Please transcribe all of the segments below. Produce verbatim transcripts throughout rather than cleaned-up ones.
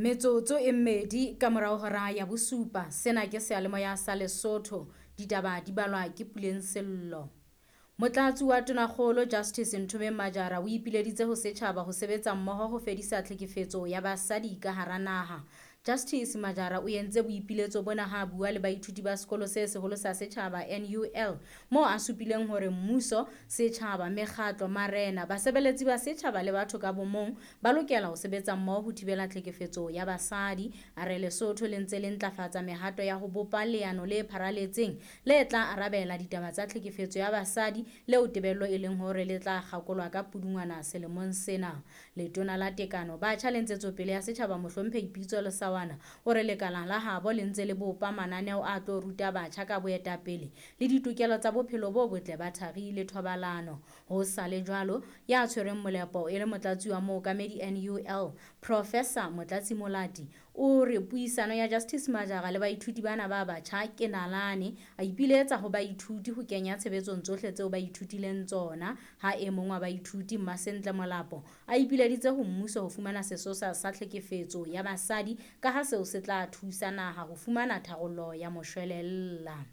Metsotso e mmedi ka morao hora ya bosupa. Sena ke seyalemoya sa Lesotho. Ditaba di balwa ke Puleng Sello. Motlatsi wa Tonakgolo Justice Nthomeng Majara o ipileditse ho setjhaba ho sebetsa mmoho ho fedisa tlhekefetso ya basadi ka hara naha. Justice Majara o entse boipiletso bona ha a bua le baithuti ba sekolo se seholo sa setjhaba N U L moo a supileng hore mmuso, setjhaba, mekgatlo, marena, basebeletsi ba setjhaba le batho ka bomong ba lokela ho sebetsa mmoho ho thibela tlhekefetso ya basadi. A re Lesotho le ntse le ntlafatsa mehato ya ho bopa leano le pharaletseng le tla arabela ditaba tsa tlhekefetso ya basadi leo tebello e leng hore le tla kgakolwa ka Pudungwana selemong sena. Letona la Tekano, Batjha le Ntshetsopele ya Setjhaba Mohlomphehi Pitso Lesawana o re lekala la habo le ntse le bopa mananeo a tlo ruta batjha ka boetapele le ditokelo tsa bophelo bo botle ba thari le thobalano. Ho sa le jwalo, ya tshwereng molepo e le motlatsi wa mookamedi N U L, Professor Motlatsi Molati, o re puisano ya Justice Majara le baithuti bana ba batjha ke nalane. A ipiletsa ho baithuti ho kenya tshebetsong tsohle tseo ba ithutileng tsona. Ha e mong wa baithuti Mmasentle Molapo a ipileditse ho mmuso ho fumana sesosa sa tlhekefetso ya basadi ka ha seo se tla thusa naha ho fumana tharollo ya moshwelella.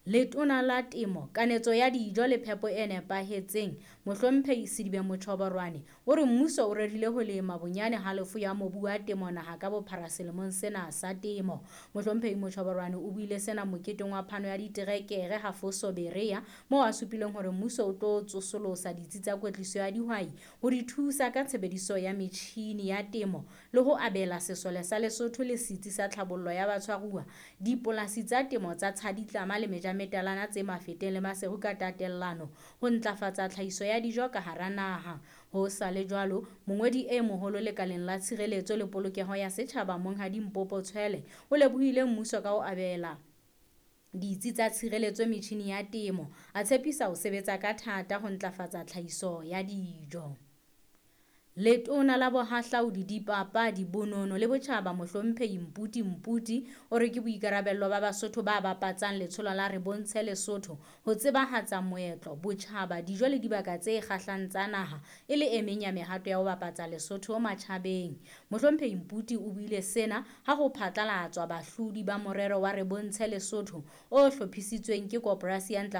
Letona la Temo, Kanetso ya Dijo le Phepo e Nepahetseng, Mohlomphehi Sedibe Mochoborwane, o re mmuso o rerile ho lema bonyane halofo ya mobu wa temo naha ka bophara selemong sena sa temo. Mohlomphehi Mochoborwane o buile sena moketeng wa phano ya diterekere ha Foso Berea, moo a supileng hore mmuso o tlo tsosolosa ditsi tsa kwetliso ya dihwai ho di thusa ka tshebediso ya metjhini ya temo le ho abela sesole sa Lesotho le setsi sa tlhabollo ya batshwaruwa dipolasi tsa temo tsa Tshaditlama le Meja metalana tse Mafeteng le Maseru ka tatellano ho ntlafatsa tlhahiso ya dijo ka hara naha. Ho sa le jwalo, mongodi e moholo lekaleng la tshireletso le polokeho ya setjhaba Monghadi Mpopo Tshwele o lebohile mmuso ka ho abela ditsi tsa tshireletso metjhini ya temo, a tshepisa ho sebetsa ka thata ho ntlafatsa tlhahiso ya dijo. Letona la Bohahlaudi, Dipapadi, Bonono le Botjhaba Mohlomphehi Mputi Mputi o re ke boikarabello ba Basotho ba bapatsang letsholo la Re Bontshe Lesotho ho tsebahatsa moetlo, botjhaba, dijo le dibaka tse kgahlang tsa naha e le e meng ya mehato ya ho bapatsa Lesotho matjhabeng. Mohlomphehi Mputi o buile sena ha ho phatlalatswa bahlodi ba morero wa Re Bontshe Lesotho o hlophisitsweng ke Koporasi ya Ntlafatso